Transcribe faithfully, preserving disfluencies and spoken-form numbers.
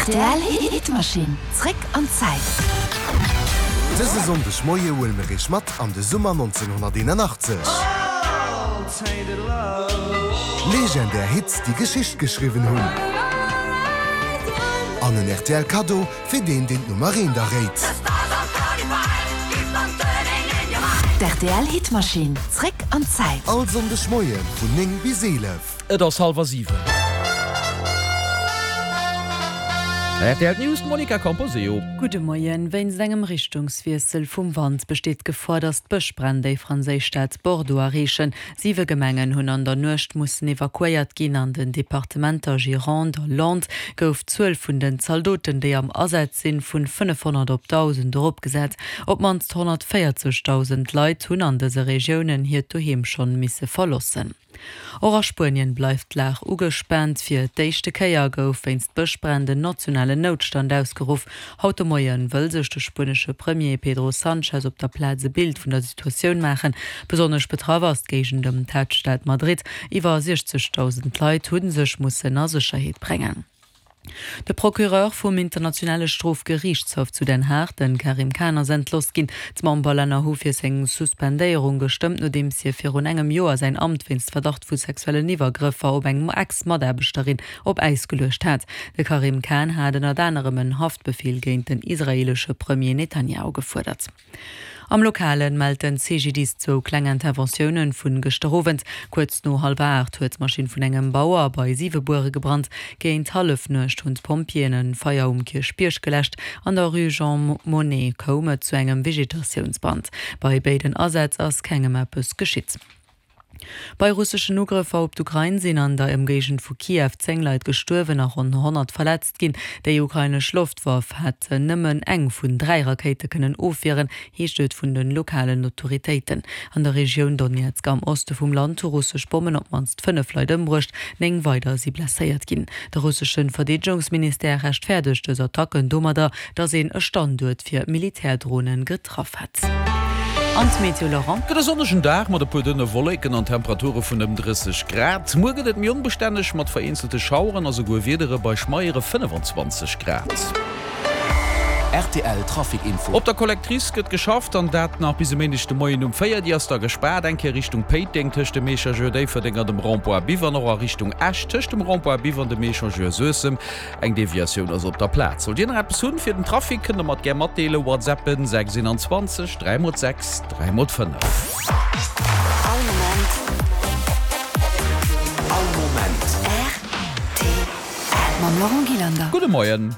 Rtl Hitmaschinn, zréck an d'Zäit. Dëse Sonndeg Moie huele mir iech mat an de Summer nonzénhonnerteenanachtzesch. Legendär Hits, déi Geschicht geschriwwen hunn. An en rtl Kaddo fir deen, deen d'Nummer eent erréit. D'RTL Hitmaschinn, zréck an d'Zäit. All Sonndeg Moie vun néng bis eelef. Et ass hallwer siwen. Rtl News, d'Monica Camposeo. Gudde Moien. Wéinst engem Richtungswiessel vum Wand besteet d'Gefor, datt d'Bëschbränn déi franséisch Stad Bordeaux erreechen. Siwe Gemengen hunn an der Nuecht mussen evakuéiert ginn. An den Departementer Gironde a Landes gouf d'Zuel vun den Zaldoten, déi am Asaz sinn, vun fënnefhonnert op dausend eropgesat. Op d'mannst honnertvéierzegdausend Leit hunn an dëse Regiounen hiert Doheem schonn misse verloossen. Och a Spuenien bleift d'Lag ugespaant. Fir d'éischte Kéier gouf wéinst Bëschbränn den nationalen Noutstand ausgeruff. Haut de Moie wëll sech de spuenesche Premier Pedro Sanchez op der Plaz e Bild vun der Situatioun maachen. Besonnesch betraff ass d'Géigend ëm d'Haaptstad Madrid. Iwwer siechzegdausend Leit hu sech mussen a Sécherheet bréngen. De Procureur vum Internationale Strofgeriichtshaff zu Den Haag, de Karim Khan, ass entlooss ginn. D'Memberlänner hu fir seng Suspendéierung gestëmmt, nodeems hie virun engem Joer säin Amt wéinst Verdacht vu sexuellen Iwwergrëffer op eng Ex-Mataarbechterin op Äis geluecht hat. De Karim Khan hat ënnert anerem en Haftbefeel géint den israeelesche Premier Netanjahu gefuerdert. Am Lokalen mellt den C G D I S zwou kleng Interventiounen vun gëschter Owend. Kuerz no hallwer aacht huet d'Maschinn vun engem Bauer bei Siwebuere gebrannt. Géint Hallefnuecht hunn d'Pompjeeën e Feier um Kierchbierg geläscht. An der Rue Jean Monnet koum et zu engem Vegetatiounsbrand. Bei béiden Asätz ass kengem eppes geschitt. Bei russeschen Ugrëffer op d'Ukrain sinn an der Ëmgéigend vu Kiew zéng Leit gestuerwen a ronn honnert verletzt ginn. Déi ukrainesch Loftwaff hätt nëmmen eng vun dräi Rakéite kënnen ofwieren, heescht et vun de lokalen Autoritéiten. An der Regioun Donezk am Oste vum Land hu russesch Bommen op d'mannst fënnef Leit ëmbruecht, néng weider si blesséiert ginn. De russesche Verdeedegungsministère rechtfäerdegt dës Attacken domadder, datt een e Standuert fir Militärdronen getraff hätt. An d'Meteo, Laurent? Gëtt e sonnegen Dag mat e puer dënne Wolleken an Temperature vun ëm drësseg Grad. Muer gëtt et méi onbestänneg mat vereenzelte Schaueren a souguer Wiedere bei schmeiere fënnefenzwanzeg Grad. Rtl Trafic Info. Op der Collectrice gëtt geschafft an dat nach bis e Méindeg de Moien um véier. Déi ass da gespaart, eng Kéier Richtung Péiteng tëscht dem Echangeur Déifferdeng an dem Rond-point Biwer an och a Richtung Esch tëscht dem Rond-point Biwer an dem Echangeur Suessem. Eng Deviatioun ass op der Plaz. Sollt Dir nach eppes hunn fir den Trafic, kënnt der mer et gär matdeelen, WhatsAppen sechs einundzwanzeg dräi mol sechs dräi mol fënnef. All Moment. All Moment. R T L mam Laurent Gillander. Gudde Moien.